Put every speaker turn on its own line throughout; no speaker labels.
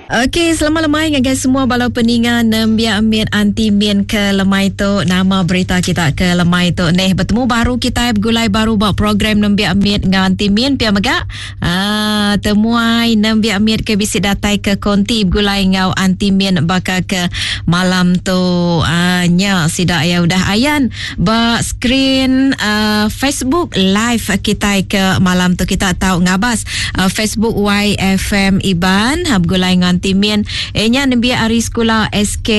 Okey, selamat lemai ngagai semua bala peninga nembiak mit anti min ke lemai tu. Nama berita kita ke lemai tu neh. Betemu baru kita begulai baru ba program nembiak mit enggau anti min pia mega. Ah, temuai nembiak mit ke bisi datai ke konti begulai enggau anti min baka ke malam tu. Ah, nya sida ya udah ayan ba skrin uh, Facebook live kitai ke malam tu kita tau ngabas uh, Facebook YFM Iban uh, begulai ngan Timin eh nya nembiak ari sekula SK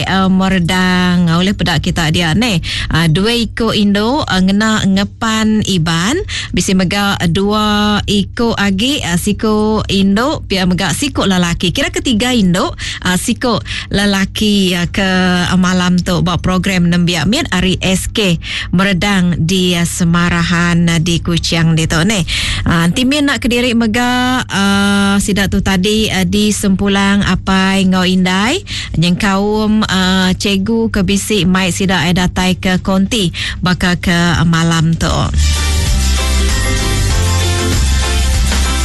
uh, Merdang uh, oleh peda kita dia ne uh, dua iko indu uh, ngena ngepan Iban bisi mega dua iko agi uh, siku indu pia mega siku lelaki kira ketiga indu uh, siku lelaki uh, ke malam tu ba program nembiak mit ari SK Meredang di uh, Semarahan uh, di Kuching ditu ni. Uh, enti min nak kediri mega uh, sida tu tadi uh, di Sempulang Apai enggau Indai nyengkaum uh, cikgu ke bisi mai sida ai datai ke konti baka ke malam tu.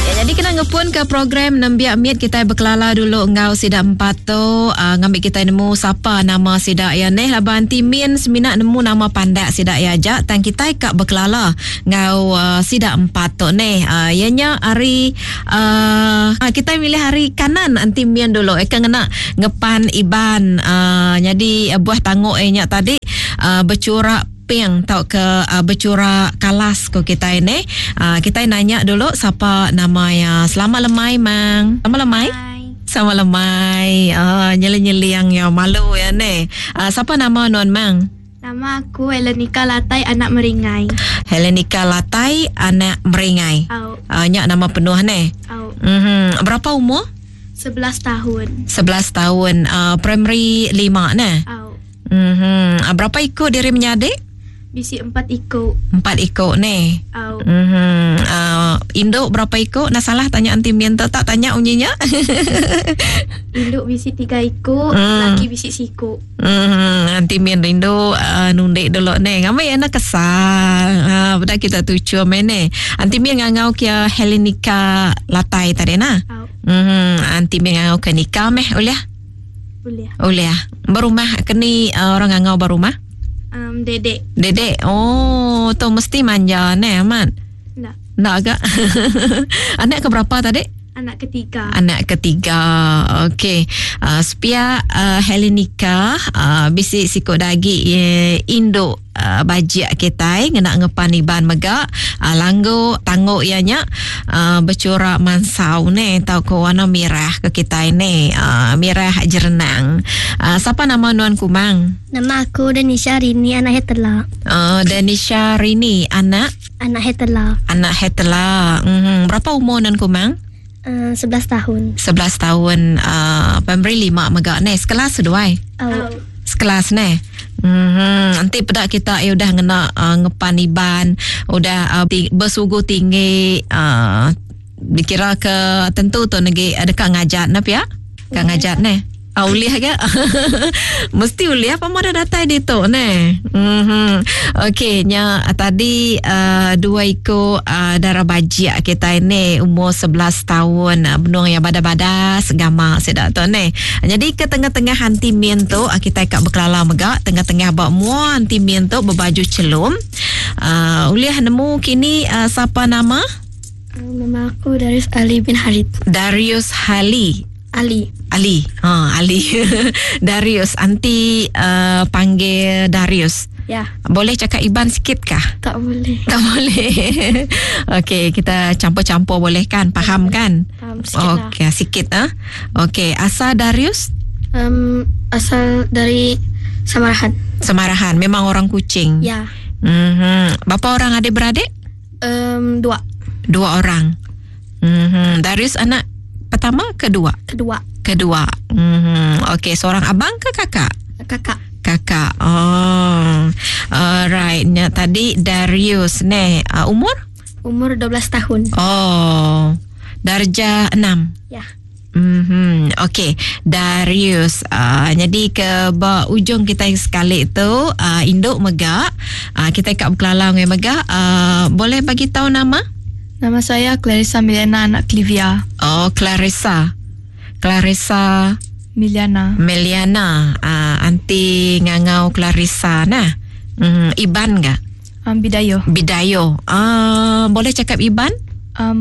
Ya, jadi kena ngepun ke program nembiak mit kita bekelala dulu enggau sida empat tu uh, ngambi kita nemu sapa nama sida ya neh laban timin semina nemu nama pandak sida ya aja tang kita ka bekelala enggau uh, sida empat tu neh uh, ya nya hari uh, kita milih hari kanan anti min dulu eh kena ngepan iban uh, jadi uh, buah tanguk eh nya tadi uh, bercurak pink tauka uh, bechura kalas ko kitai ni. Uh, kitai nanya dulu sapa nama ya. Selamat lemai mang. Selamat lemai. Selamat lemai. Uh, nyeling-nyeling ya malu ya ni. Uh, sapa nama nuan mang?
Nama aku Helenika Latai anak Meringai.
Helenika Latai anak Meringai.
Au.
Uh, nya nama penuh ni.
Au.
Mm-hmm. Berapa umur?
11 tahun.
11 tahun. Uh, primary 5 ne?
Au.
Mm-hmm. Berapa iko diri menyadi?
Bisi empat iko.
Empat iko ni.
Au.
Mm-hmm. Uh, induk berapa iko? Nah salah tanya anti minta tak tanya unyinya.
Induk bisi tiga iko, mm. laki bisi siko.
Mm-hmm. Anti min rindu uh, nundik dulu ni. Ngambil anak kesal. Uh, budak kita tucu ni. Anti min ngangau kia Helenika Latai tadi nah.
Au.
Mm-hmm. Anti min ngangau ke Nika meh oleh.
Boleh.
Boleh. Berumah keni uh, orang ngangau berumah?
Um, dedek.
Dedek. Oh, tu mesti manja ne amat.
Nak.
Nak agak. Anak ke berapa tadi?
Anak ketiga.
Anak ketiga. Okey. Uh, sepia uh, Helenika uh, bisi sikut dagi uh, induk uh, bajik kitai ngena ngepan iban mega uh, langgu tanggu iya nya uh, bercorak mansau ne tau ke warna merah ke kitai ne uh, merah jerenang. Uh, siapa nama nuan Kumang?
Nama aku Denisha Rini anak Hetela.
Uh, Denisha Rini anak
Anak Hetela.
Anak Hetela. Mm-hmm. Berapa umur nuan Kumang?
Uh, 11 tahun.
11 tahun. Uh, primary 5 mega ne. Sekelas seduai?
Oh.
Sekelas ne. Mm-hmm. Nanti peda kita ya udah ngena uh, ngepan iban, udah uh, bersugu tinggi uh, dikira ke tentu tu negi uh, dekat ngajat ne pia? Dekat ngajat ne. Ah, ulih ke? Mesti ulih apa mau dah datai di tu ne. Mhm. Okey, nya tadi uh, dua iko uh, darah bajik kita ini umur 11 tahun uh, benung yang badas-badas gama sedak tu ne. Jadi ke tengah-tengah anti min tu uh, kita kak berkelala mega tengah-tengah bak mua anti min tu berbaju celum. Uh, ulih nemu kini uh, siapa nama?
Nama aku Darius Ali bin Harith.
Darius Hali.
Ali.
Ali. Ha, Ali. Darius. Anti uh, panggil Darius.
Ya.
Boleh cakap Iban sikit kah?
Tak boleh.
Tak boleh. Okey, kita campur-campur boleh kan? Faham kan?
Faham sikit lah.
Okey, sikit ah. Okey, asal Darius?
Um, asal dari Samarahan.
Samarahan. Memang orang Kuching.
Ya.
Mhm. Berapa orang adik-beradik?
Um, dua.
Dua orang. Mhm. Darius anak pertama, kedua?
Kedua.
Kedua. Mhm. Okey, seorang abang ke kakak?
Kakak.
Kakak. Oh. Alright. Nya tadi Darius ne uh, umur?
Umur 12 tahun.
Oh. Darjah 6.
Ya.
Mhm. Okey, Darius. Uh, jadi ke ba ujung kita yang sekali tu uh, induk mega, uh, kita kat berkelala dengan mega, uh, boleh bagi tahu nama?
Nama saya Clarissa Milena anak Clivia.
Oh, Clarissa. Clarissa
Miliana.
Meliana. Anti ngangau Clarissa nah. Iban ga?
Bidayo.
Bidayo. Boleh cakap Iban?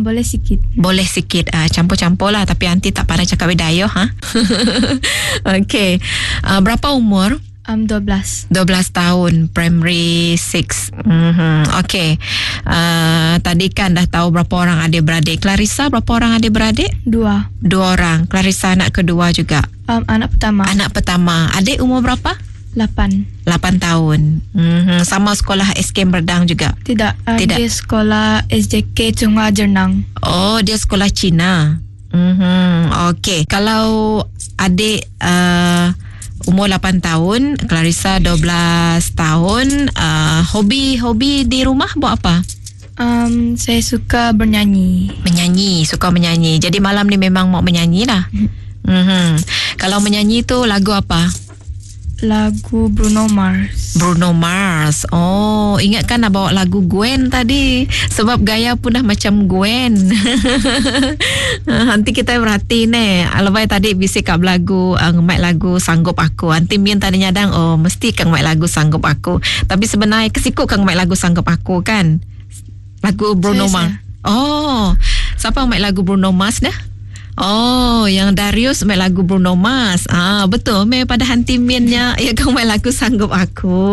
Boleh sikit.
Boleh sikit. Campur-campur lah. Tapi anti tak pandai cakap Bidayo. Ha? Okey. Berapa umur?
12.
12 tahun, primary 6. Okey. Tadi kan dah tahu berapa orang adik-beradik. Clarissa berapa orang adik-beradik?
2.
2 orang. Clarissa anak kedua juga.
Anak pertama.
Anak pertama. Adik umur berapa?
8.
8 tahun. Sama sekolah SK Merdang juga?
Tidak.
Tidak.
Dia sekolah SJK Chunghua Jernang.
Oh, dia sekolah Cina. Okey. Kalau adik umur 8 tahun, Clarissa 12 tahun, hobi-hobi di rumah buat apa?
Saya suka bernyanyi.
Menyanyi, suka menyanyi. Jadi malam ni memang mau menyanyi lah. Kalau menyanyi tu lagu apa?
Lagu Bruno Mars.
Bruno Mars. Oh, ingatkan nak bawa lagu Gwen tadi. Sebab gaya pun dah macam Gwen. Nanti kita berhati ni. Lepas tadi bisik kat lagu, ngemaik lagu Sanggup Aku. Nanti Min tadi nyadang, oh mesti kang maik lagu Sanggup Aku. Tapi sebenarnya kesikut kang maik lagu Sanggup Aku kan? Lagu Bruno
Saya,
Mars.
saya.
Oh, siapa maik lagu Bruno Mars dah? Oh, yang Darius main lagu Bruno Mars. Betul. Meh pada hanti minnya, ya kau main lagu Sanggup Aku.